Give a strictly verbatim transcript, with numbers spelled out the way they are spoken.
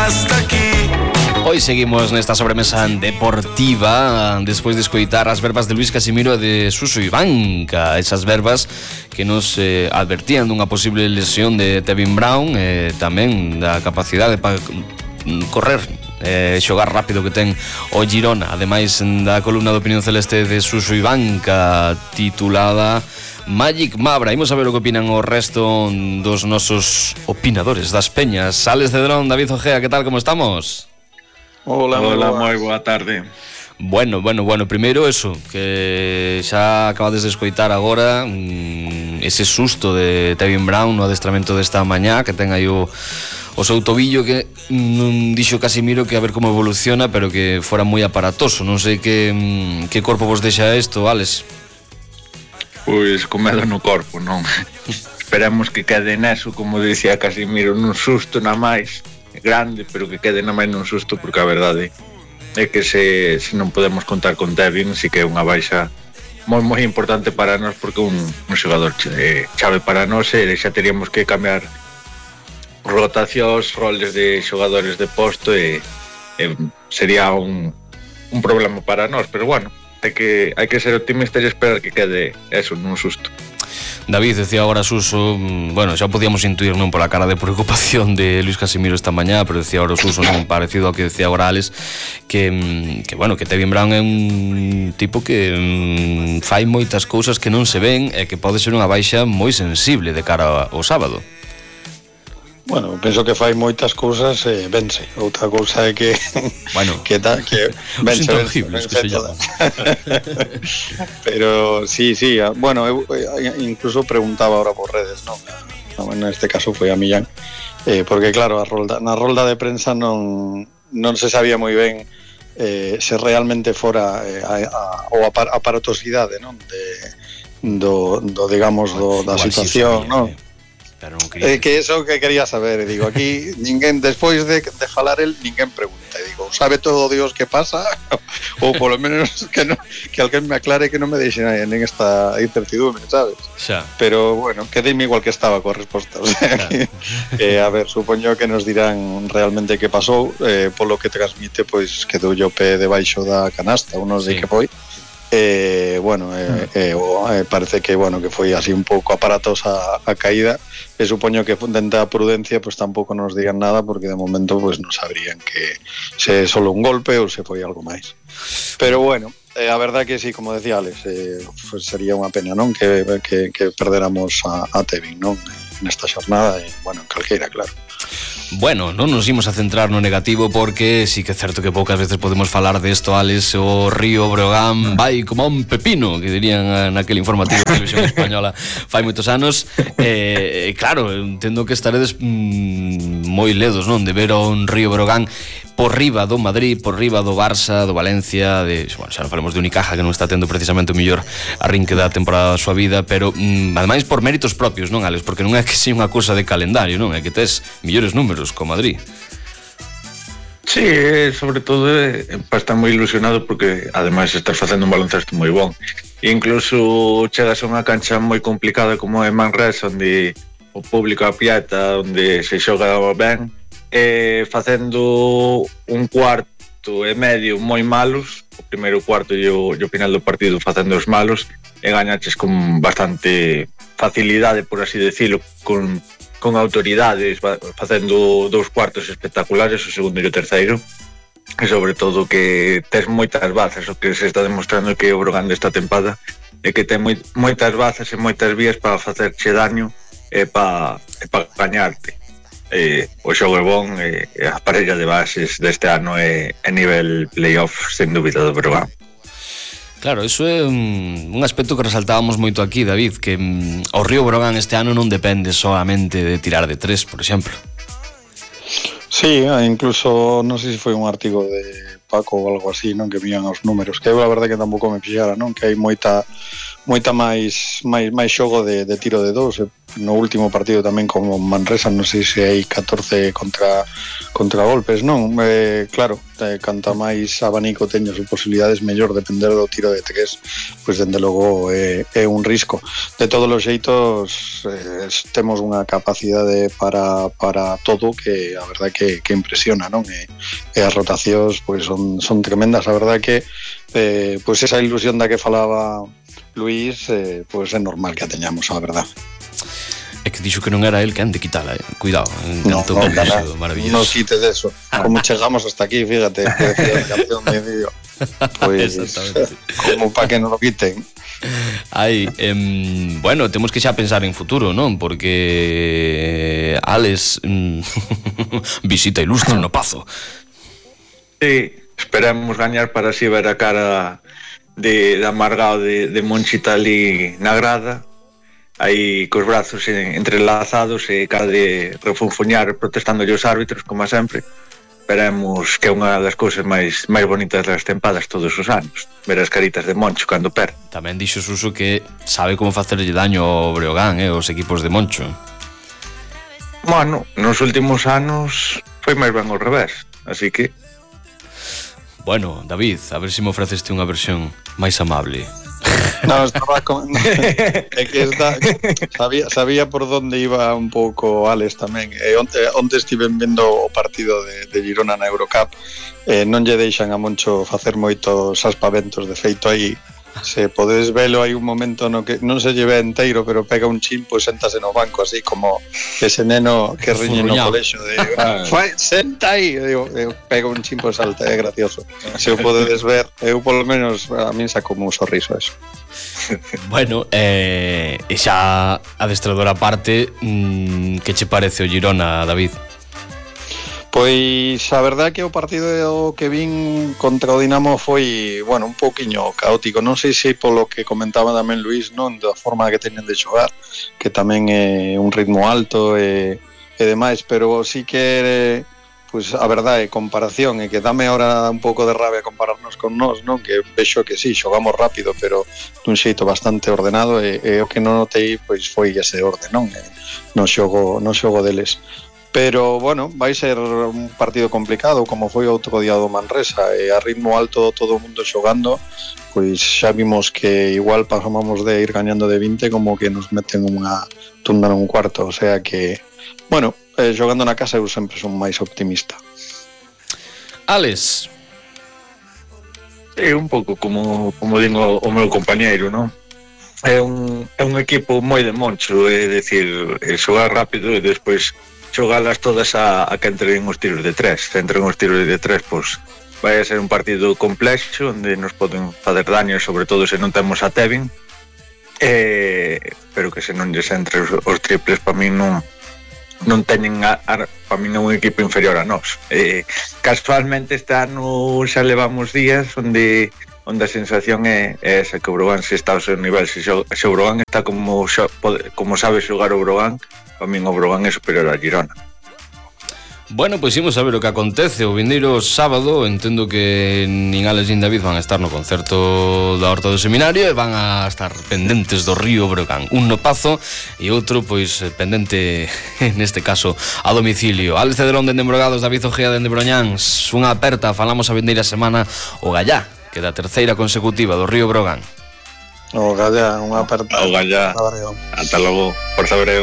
hasta aquí. Hoy seguimos nesta sobremesa deportiva despois de escoitar as verbas de Luís Casimiro e de Suso Ivanca, esas verbas que nos eh, advertían dunha posible lesión de Tevin Brown e eh, tamén da capacidade para correr e eh, xogar rápido que ten o Girona, ademais da columna de opinión celeste de Suso Ivanca titulada Magic Mabra. Imos a ver o que opinan o resto dos nosos opinadores das peñas. Sales de Dron, David Ojea, que tal, como estamos? Hola, hola, moi boa tarde. Bueno, bueno, bueno, primeiro eso, que xa acabades de escoitar agora mmm, ese susto de Tevin Brown no adestramento desta mañá, que ten aí o, o seu tobillo, que non dixo Casimiro que a ver como evoluciona, pero que fora moi aparatoso. Non sei que, mmm, que corpo vos deixa isto, Alex? Pois con medo no corpo, non? Esperemos que quede neso, como dicía Casimiro, nun susto na máis grande, pero que quede na máis nun susto, porque a verdade é que se, se non podemos contar con Tevin, si que é unha baixa moi moi importante para nós, porque un, un xogador chave para nós, e xa teríamos que cambiar rotacións, roles de xogadores de posto, e, e sería un, un problema para nós, pero bueno, hai que, hai que ser optimistas e esperar que quede eso nun susto. David, decía agora Suso, bueno, xa podíamos intuir non pola cara de preocupación de Luís Casimiro esta mañá, pero decía agora Suso, non parecido ao que decía agora Alex, que, que bueno, que Tevin Brown é un tipo que mm, fai moitas cousas que non se ven e que pode ser unha baixa moi sensible de cara ao sábado. Bueno, penso que fai moitas cousas e eh, vence. Outra cousa é que bueno, que ta, que vence, vence, vence que se pero sí, sí, bueno, eu, eu incluso preguntaba ahora por redes, non? En este caso foi a Millán, eh, porque claro, a rolda, na rolda de prensa non non se sabía moi ben eh, se realmente fora eh, a, a, ou a aparatosidade, non? De do, do digamos do, da situación, non? Non eh, que eso que quería saber, e digo, aquí ninguén, despois de, de falar el, ninguén pregunta, e digo, sabe todo Dios que pasa, ou polo menos que, no, que alguén me aclare, que non me deixen en esta incertidumbre, sabes? Xa. Pero bueno, quedeme igual que estaba coa resposta, o sea, que, eh, a ver, supoño que nos dirán realmente que pasou, eh, polo que transmite, pois quedou o pé debaixo da canasta, unos sí. De que foi. Eh, bueno, eh, eh, eh, parece que bueno que foi así un pouco aparatosa a caída, e supoño que dentro da prudencia pues tampouco nos digan nada, porque de momento pues non sabrían que se é solo un golpe ou se foi algo máis. Pero bueno, eh, a verdade que sí, como decía Alex, eh, pues sería unha pena, non, que, que, que perderamos a, a Tevin, non, nesta xornada, e bueno, en calqueira, claro. Bueno, non nos imos a centrar no negativo, porque sí que é certo que poucas veces podemos falar desto, Alex. O Río Breogán vai como un pepino, que dirían naquele informativo de Televisión Española fai moitos anos. E, eh, claro, entendo que estaredes mm, moi ledos, non, de ver a un Río Breogán por riba do Madrid, por riba do Barça, do Valencia, de, bueno, xa non falemos de Unicaja, que non está tendo precisamente o mellor arrinque da temporada da súa vida, pero mm, ademais por méritos propios, non, Alex? Porque non é que sea unha cousa de calendario, non? É que tes millores números co Madrid. Sí, sobre todo eh, para estar moi ilusionado, porque ademais estás facendo un baloncesto moi bon. E incluso chegas a unha cancha moi complicada como é Manresa, onde o público apieta, onde se xoga ben, eh, facendo un cuarto e medio moi malos, o primeiro cuarto e o, e o final do partido facendo os malos, e gañaches con bastante facilidade, por así decirlo, con, con autoridades, facendo dous cuartos espectaculares, o segundo e o terceiro, e sobre todo que tes moitas bazas. O que se está demostrando que o Breogán desta tempada é que ten moi, moitas bazas e moitas vías para facerche daño e para, e para gañarte. Eh, o xogo é bon, e eh, a parella de bases deste ano é, é nivel playoff, sen dúbida, do Breogán. Claro, iso é un, un aspecto que resaltábamos moito aquí, David, que um, o Río Breogán este ano non depende solamente de tirar de tres, por exemplo. Sí, incluso non sei se foi un artigo de Paco ou algo así, non, que vían os números, que eu a verdade que tampouco me fixara, non, que hai moita moita máis máis máis xogo de, de tiro de dous, no último partido tamén como Manresa, non sei se hai catorce contra contra golpes, non? Eh, claro, eh, canta máis abanico teño as posibilidades mellor depender do tiro de tres, pois dende logo é, é un risco. De todos os xeitos eh, temos unha capacidade para, para todo que a verdade que, que impresiona, non? E, e as rotacións pois son, son tremendas, a verdade que eh, pois esa ilusión da que falaba Luís, eh, pois é normal que a teñamos, a verdade. É que dixo que non era el que han de quitala, eh? Cuidado, no, no, no, no, maravilloso. No quites eso. Como chegamos hasta aquí, fíjate, que decía el campeón de vídeo. Pues, como para que non lo quiten. Ai, eh, bueno, temos que xa pensar en futuro, non? Porque Alex visita ilustre no Pazo. Sí, esperemos gañar para así ver a cara de, de amargado de, de Monchita ali na grada, aí cos brazos entrelazados e cada de refunfuñar protestando os árbitros, como sempre. Esperemos que é unha das cousas máis máis bonitas das tempadas todos os anos, ver as caritas de Moncho cando perde. Tamén dixo Suso que sabe como facerlle daño ao Breogán, eh, os equipos de Moncho. Bueno, nos últimos anos foi máis ben ao revés, así que... Bueno, David, a ver se me ofreceste unha versión máis amable. No, estaba con... é que está... sabía, sabía por donde iba un pouco Alex tamén. E onte, onte estiven vendo o partido de, de Girona na Eurocup, eh, non lle deixan a Moncho facer moitos aspaventos. De feito, aí se podes velo, hai un momento no que non se lle ve enteiro, pero pega un chin, pois séntase no banco, así como ese neno que riñe no colexo de senta aí, eu, eu pega un chin, pois salta, é gracioso. Se o podedes ver, eu polo menos a min saco un sorriso eso. Bueno, eh, e xa adestrador aparte, mmm, que che parece o Girona, David? Pois a verdade que o partido que vin contra o Dinamo foi, bueno, un pouquiño caótico. Non sei se polo que comentaba tamén Luís, non, da forma que teñen de xogar, que tamén é un ritmo alto e, e demais, pero sí que pois a verdade, comparación, e que dame ahora un pouco de rabia compararnos con nós, non? Que vexo que sí, xogamos rápido, pero dun xeito bastante ordenado, e, e o que non notei pois foi ese orde, non? E, no xogo, no xogo deles. Pero, bueno, vai ser un partido complicado, como foi outro día do Manresa, e a ritmo alto todo o mundo xogando, pois xa vimos que igual pasamos de ir gañando de vinte como que nos meten unha tunda nun cuarto, o sea que, bueno, eh, xogando na casa eu sempre son máis optimista. Alex. É un pouco como, como digo o meu compañeiro, non? É un, é un equipo moi de Moncho, é dicir, é xogar rápido e despois xogalas todas a, a que entren os tiros de tres. Se entren os tiros de tres, pois vai a ser un partido complexo onde nos poden fazer daño, sobre todo se non temos a Tevin, eh, pero que se non lles entre os, os triples, para mí non non teñen a, a, para mí non é un equipo inferior a nós. Eh, casualmente este ano xa levamos días onde onde a sensación é, é esa, que o Brogan se está ao seu nivel, se, xo, se o Brogan está como, xo, como sabe xogar o Brogan, para min o Brogan é superior a Girona. Bueno, pois imos a ver o que acontece o vindeiro sábado. Entendo que nin Alex nin David van a estar no concerto da Horta do Seminario e van a estar pendentes do Río Breogán, un no Pazo e outro pois pendente neste caso a domicilio. Alex Cederón dende Embrogados, David Ojea dende Broñáns. Unha aperta, falamos a vindeira semana o Gallá, que da terceira consecutiva do Río Breogán. O Gallá, unha aperta. O Gallá, ata logo, por saber eu.